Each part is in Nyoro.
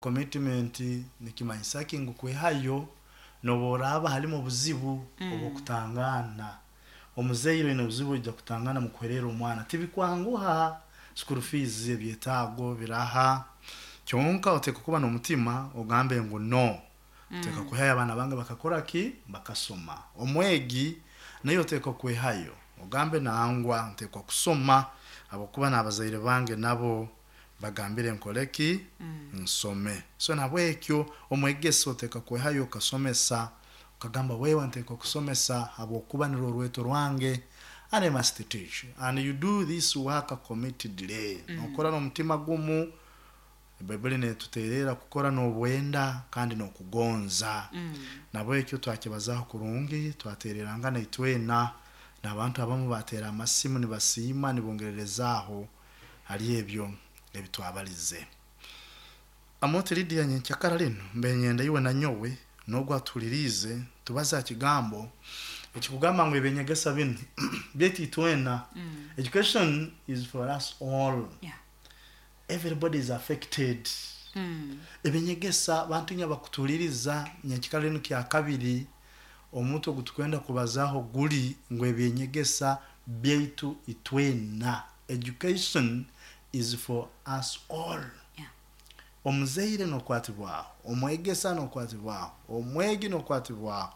Commitment nikimanyisa ki? Ngu kwehayo nobu oraaba halimu obuzibu obw'okutangaana. Omuzaire oine obuzibu oija kutangaana mu kuhererra omwana, tibikwanguha, school fees, ebyetaago biraha, kyonka oteekwa kuba n'omutima ogambe ngu no, nteekwa kwehayo abaana bange bakakora ki? Bakasoma. Omwegi naiwe oteekwa kwehayo ogambe nangwa nteekwa kusoma habwokuba n'abazaire bange nabo bagambire nkole ki? Nsome. So nahabwekyo omwegesa oteekwa kwehayo okasomesa, okagamba wewe nteekwa kusomesa habwokuba nirwo orweto rwange and I must teach. And you do this work committedly. Nokora n'omutima gumu. Baibuli netutererra kukora n'obwenda kandi n'okugonza. Nahabwekyo twakibazaho kurungi, twatererangana itwena, n'abantu abamu bateera amasimu nibasiima nibongererezaaho hali ebyo ebi twabalize. Amooti Lydia nyenkyakara linu mbe nyenda iwe na nyowe n'ogu atuhuliriize tubaze ha kigambo ekikugamba ngu eby'enyegesa binu byaitu itwena. Education is for us all. Everybody is affected. Eby'enyegesa bantu inywe abakutuhuliriza nyenkyakara linu kyakabiri omutwe ogu tukwenda kubazaho guli ngu eby'enyegesa byaitu itwena. Education is for us all. Omuzaire nokwatibwaho, omwegesa nokwatibwaho, omwegi nokwatibwaho,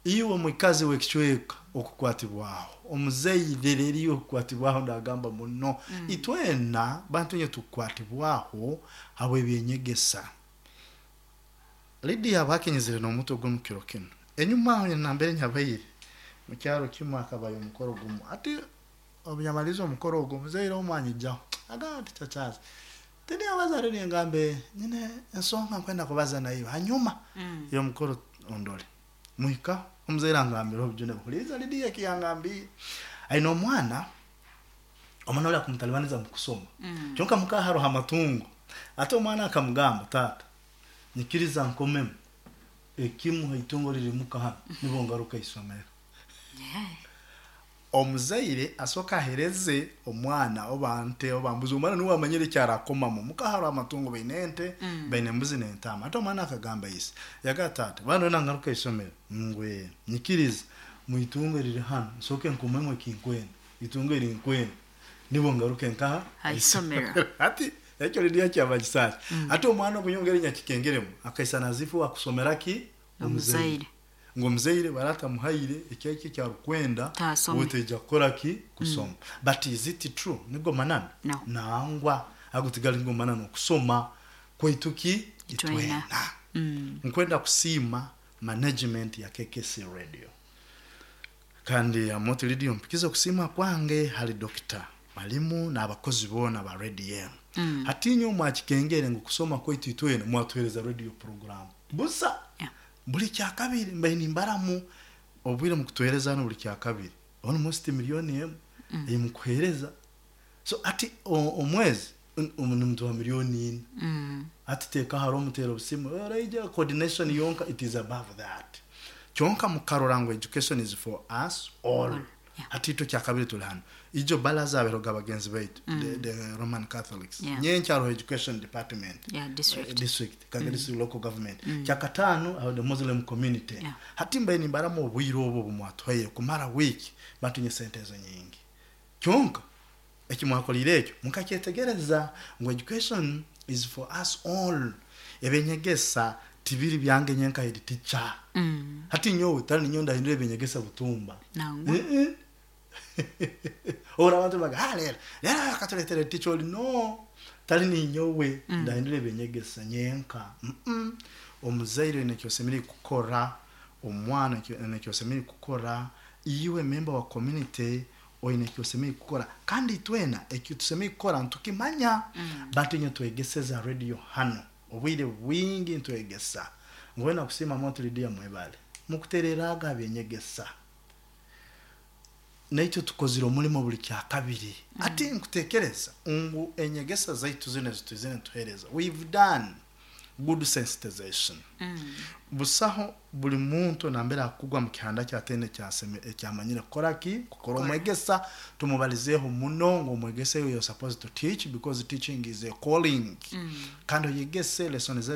iwe omwikazi w'ekicweka okukwatibwaho, omuzaire rero iwe okukwatibwaho ndagamba muno. Itwena bantu inywe tukukwatibwaho habw'eby'enyegesa. Lydia habwaki nyizire n'omutwe gunu kiro kinu? Enyuma aho nambere nyabaire, mukyaro kimu hakabayo omukoro gumu. Hati Obu yamalize omukoro ogu, omuzaire omu anyijaho agamba ati, Chachaazi, tindiyabaza hali ningambe nyine ensonga nkwenda kubaza naiwe hanyuma y'omukoro ondole. Muhikaho, omuzaire angambira obujune, huliiriza Lydia eki yangambiire. Aine omwana, omwana oli akumutalibaniza mu kusoma, kyonka muka haroho amatungo. Ati omwana akamugamba, taata, nyikiriza nkomemu ekimu ha itungo riri muka hanu nibwo ngaruke isomero. Omuzaire asooke ahereze omwana oba nte oba mbuzi, omwana nuwe amanyire eki arakomamu. Muka haroho amatungo baine ente, baine embuzi n'entaama. Hati omwana akagamba ise, yagamba taata banu wena ngaruka isomero? Ngu ee. Nyikiriza mwitungo eriri hanu nsooke nkomemu ekinkwenda, itungo erinkwenda nibwo ngaruke nkaha? Haisomero. Hati ekyo Lydia kyamanyisa ki? Hati omwana ogu nyowe ngeri nyakikengeremu akaisana as if wakusomera ki? Omuzaire. Ngu omuzaire bari atamuhaire eki eki arukwenda Taasome. we taija kukora ki? Kusoma. But is it true? Nigo mananu? No. Nangwa. Ago tigali nigo mananu. Okusoma kwaitu ki? Itwena. Itwena. Nkwenda kusiima management ya KKC Radio. Kandi Amooti Lydia ompikize okusiima kwange hali Dokita Malimu n'abakozi boona ba radio enu. Hati inywe mwakikengere ngu kusoma kwaitu itwena mwatuhereza radio program. Busa! Yeah. Buli kyakabiri mbaire nimbaramu obwire mukutuhereza hanu buli kyakabiri almost million emu ei mukuhereza so hati omwezi nimutuha million ina hati teeka haro omuteera obusimu oraija coordination yonka it is above that kyonka mukarora ngu education is for us all. Yeah. Hati itwe kyakabiri tuli hanu ijo balaza aberoga bagenzi baitu the Roman Catholics nyenkya haroho education department Yeah, district. District Kagere district local government kyakataano haroho the Muslim community hati mbaire nimbaramu obwire obu obu mwatuhaire kumara week batunye sente ezo nyingi kyonka eki mwakoliire ekyo mukakyetegereza ngu education is for us all eby'enyegesa tibiri byange nyenka head teacher hati nyowe tari ninyowe ndahindura eby'enyegesa butumba Nangwa. Ora abantu nibaga ah rero rero akaturetera teacher ori no tari ninyowe ndahindura eby'enyegesa nyenka omuzaire oine eki osemeriire kukora omwana oine eki osemeriire kukora iwe member wa community oine eki osemeriire kukora kandi itwena eki tusemeriire kukora nitukimanya but inywe twegeseza radio hanu obwire bwingi nitwegesa ngu wena kusiima Mont Lydia mwebale mukutereraaga ha by'enyegesa naitwe tukozire omulimo buli kyakabiri hati nkutekereza ngu enyegesa zaitu zinu ezi twizire nituhereza we've done. Good sensitization. Busaho buli muntu nambere akugwa mu kihanda kyatene ekyamanyire kukora ki kukora. Omwegesa tumubalizeeho muno ngu omwegesa, you're supposed to teach because teaching is a calling, kandi oyegese lesson zezo.